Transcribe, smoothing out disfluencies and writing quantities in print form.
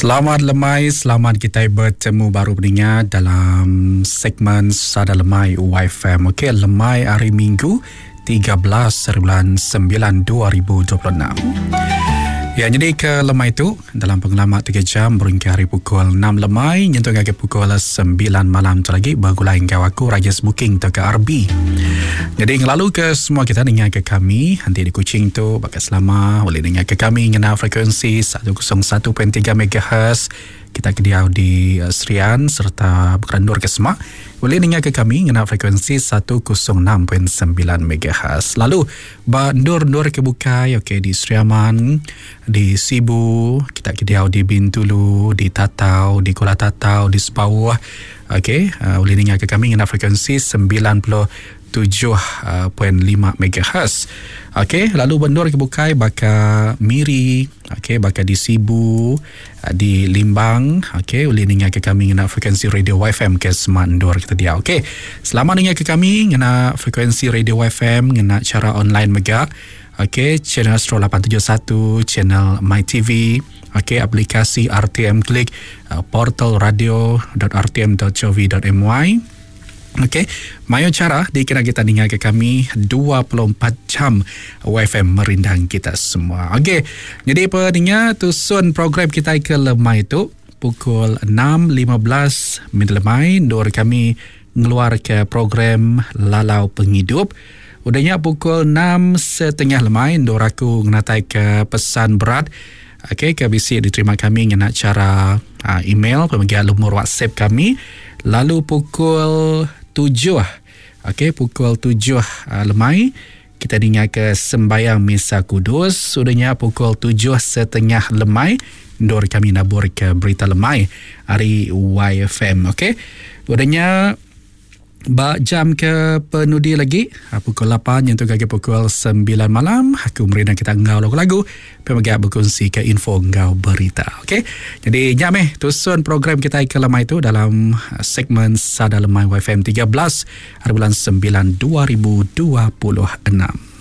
Selamat lemai, selamat kitai betemu baru peninga dalam segmen Sada Lemai YFM. Okey, lemai hari Minggu 13 hari bulan 9 2026. Ya, jadi ke lemai tu dalam pengelama 3 jam berengkah hari pukul 6 lemai nyentuk ngagai pukul 9 malam tu lagi begulai enggau aku Rajes Booking tauka RB. Jadi ngelalu ke semua kita ninga ke kami nanti di Kuching tu baka selama boleh ninga ke kami ngena frekuensi 101.3 MHz kita ke diau di eh, Serian serta bekerendur ke semak boleh ninga ke kami ngena frekuensi 106.9 MHz. Lalu ba endur-endur ke bukai okey di Sri Aman, di Sibu, kita ke diau di Bintulu, di Tatau, di Kuala Tatau, di Sepauh okey uh, boleh ninga ke kami ngena frekuensi 97.5 MHz. Okey, lalu ba endur ke bukai baka Miri, okey baka di Sibu, di Limbang, okey ulih ninga ke kami ngena frekuensi radio YFM ke semak endur kita diau. Okey. Selamat ninga ke kami ngena frekuensi radio YFM ngena cara online mega. Okey, channel Astro 871, channel My TV, okey aplikasi RTM Klik, eh, portal radio.rtm.gov.my. Okey, mayuh cara dikena kita ninga ke kami 24 jam YFM merindang kita semua. Okey, jadi peninga tusun program kita ke lemai tu pukul 6.15 minit lemai endur kami ngeluar ke program Lalau Pengidup. Udahnya pukul 6.30 lemai endur aku ngenatai ke pesan berat. Okey, ke bisi diterima kami ngena cara uh, email pemegang lumur WhatsApp kami. Lalu pukul 7, okey, pukul 7 uh, lemai kita dengar ke sembayang Misa Kudus. Sudahnya pukul 7.30 lemai endur kami nabur ke berita lemai hari YFM. Okey. Udahnya ba jam ke penudi lagi ah, pukul 8 nyentuk ke pukul 9 malam aku merindang kita enggau lagu-lagu pemega berkongsi ke info enggau berita. Okey. Jadi nya meh tusun program kita ke lemai tu dalam ah, segmen Sada Lemai YFM 13 hari bulan 9 2026.